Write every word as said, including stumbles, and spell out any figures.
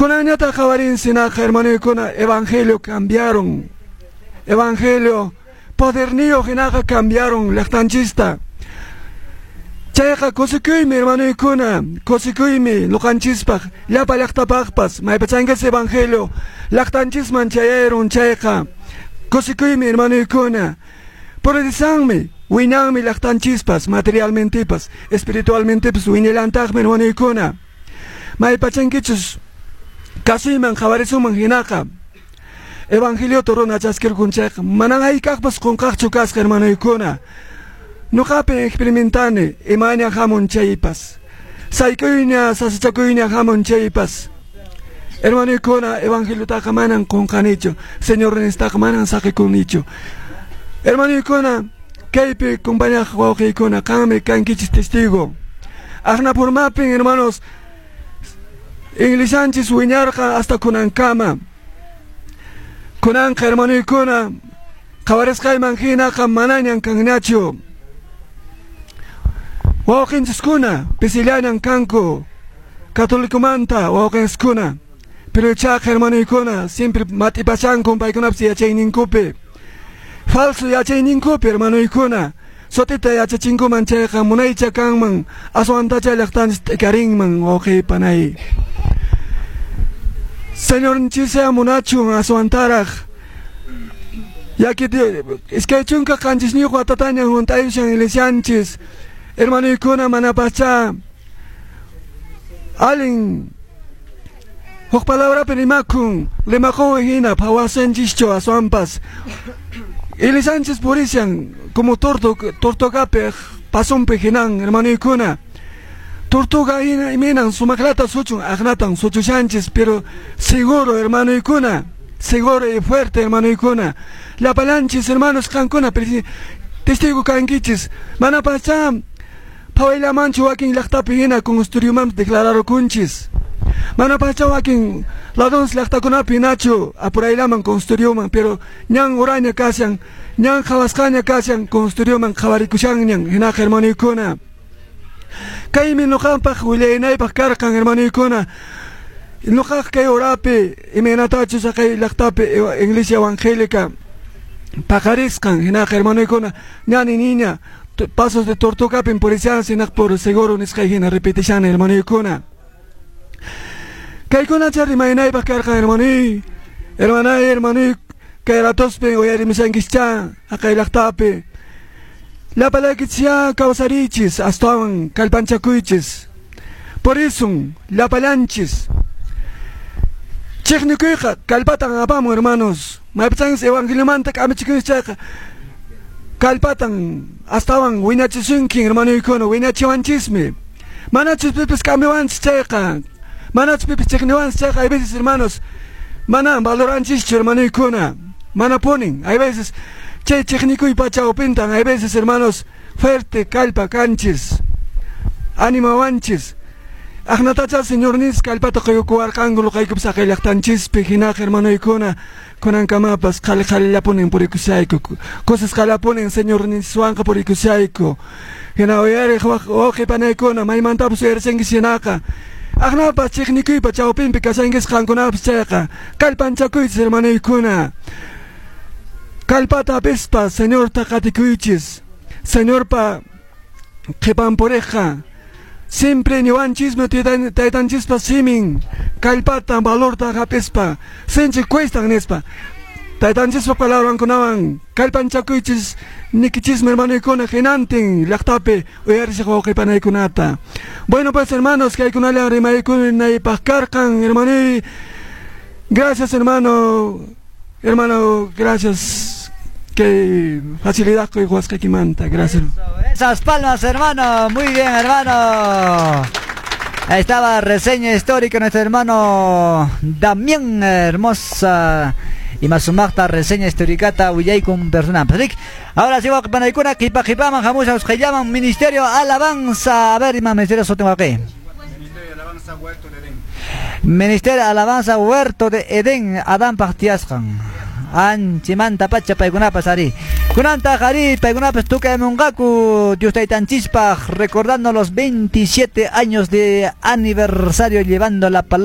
Kunanñataq qhawarinchis hermanuykuna, evangelio cambiaron. Evangelio poderniyuq hinaqa cambiaron llaqtanchista. Chayqa kusikuymi, hermanuykuna, kusikuymi ñuqanchispaq, llapa llaqtapaqpas, maypachankas evangelio llaqtanchisman chayayrun chayqa kusikuymi, hermanuykuna. Progresanmi, wiñanmi llaqtanchispas, materialmentepas, espiritualmentepas wiñallantaqmi, hermanuykuna. Maypachankichus kasuyman qhawarisuman hinaqa evangeliota runa chaskirkun chayqa manan hayk'aqpas qunqaqchu kasqa, hermanuykuna. Ñuqapi experimentani imaña hamun chaypas, sayk'uyña sasachakuyña hamun chaypas, hermanuykuna, evangeliotaqa manan qunqanichu, Señorninstaqa manan saqikunichu. Hermanuykuna, kaypi compañaq wawqiykuna, qanmi kankichis testigo. Aqnapurmapin, hermanos, iglesianchis wiñarqa hasta kunankama. Kunanqa, hermanuykuna, qhawarisqayman hinaqa manañan kanñachu. Wawqinchiskuna pisillañan kanku católicomanta wawqinchiskuna, pero chaqa, hermanuykuna, siempre mat'ipashanku paykunapas yachayninkupi, falso yachayninkupi, hermanuykuna. Sut'ita yachachinkuman chayqa munaycha kanman, aswantacha llaqtanchis t'ikarinman, wawqiy panay. Señorninchis munachun aswantaraq yaki iskay chunka qanchisniyuq watatañan hunt'ayushan iglesianchis, hermanuykuna, manapacha allin huk palabrapi rimakun limaqun hina phawasanchischu, aswanpas iglesianchis purishan como torto tortugapi pasonpi hinan, hermanuykuna. Tortuga hina iminan sumaqlata suchun, aqnatan suchushanchis, pero seguro, hermanuykuna, seguro y fuerte, hermanuykuna. Llapallanchis, hermanos, qankuna testigo kankichis. Manapacha phawayllamanchu wakin llaqtapi hina consistorioman declararukunchis. Manapacha wakin ladons llaqtakunapi hinachu apurayllaman consistorioman, pero ñan uraña kashan, ñan qhawasqaña kashan, consistorioman qhawarikushanñan hinaqa, hermanuykuna. Kaymi ñuqanpaq willaynaypaq karqan, hermanuykuna. Ñuqaq kay urapi imaynatachus kay llaqtapi iglesia evangélica paqarisqan hinaqa, hermanuykuna, ñani niña pasos de tortugapin purishan hinaq por seguro nisqay hina repetishani, hermanuykuna. Kaykunacha rimaynaypaq karqan, hermanuy, hermanay, hermanuy, kay ratospi uyarimushankischa haqay llaqtapi. Llapallaykichis kawsariychis, astawan kallpanchakuychis. Purisun llapallanchis. Chiqnikuyqa kallpatan apamun, hermanos. Maypachanchis evangeliomanta k'amichikuychis chayqa kallpatan astawan wiñachisunkin, hermanuykuna, wiñachiwanchismi. Manachus pipis k'amiwanchis chayqa, manachus pipis chiqniwanchis chayqa, hay veces, hermanos, manan valoranchischu, hermanuykuna. Mana punin, hay veces chay chiqnikuy chawpintan, hay veces, hermanos, fuerte kallpa kanchis, animawanchis. Aqnatacha Señornis kallpata quykuwarqanku luqaykupas haqay llaqtanchispi hinaqa, hermanuykuna, kunankamapas qhali qhalillapunin purikushayku, kusisqallapunin Señorniswanqa purikushayku. Hina uyariq wawqi panaykuna, maymantapas uyarishankichis hinaqa aqnapas chiqnikuypa chawpinpi kashankis qankunapas chayqa kallpanchakuychis, hermanuykuna. Kallpata hapispa Señorta qatikuychis. Señorpa qhipan puriqqa siempre niwanchismi taytanchispa simin kallpata valorta hapispa sinchi cuestan nispa. Taytanchispa palabrankunawan kallpanchakuychis nikichismi, hermanuykuna, hinantin llaqtapi uyarishaq wawqi panaykunata. Bueno, pues, hermanos, kaykunallan rimaykunaypaq karqan, hermanuy. Gracias, hermano. Hermano, gracias. Qué facilidad quykuwasqaykimanta. Gracias. Esas palmas, hermano. Muy bien, hermano. Ahí estaba reseña histórica nuestro hermano Damián, hermosa y más sumaqta reseña histórica con persona. Ahora sí, panaykuna qipa qipaman hamusha llaman Ministerio Alabanza. A ver, ima Ministerio sutin waqi. Ministerio Alabanza Huerto de Edén. Ministerio Alabanza Huerto de Edén, Adanpaq tiyasqan. Anchimanta pacha paykunapas ari. Kunanta ari paykunapas tukamunqaku Dios taytanchispaq recordando los veintisiete años de aniversario llevando la palabra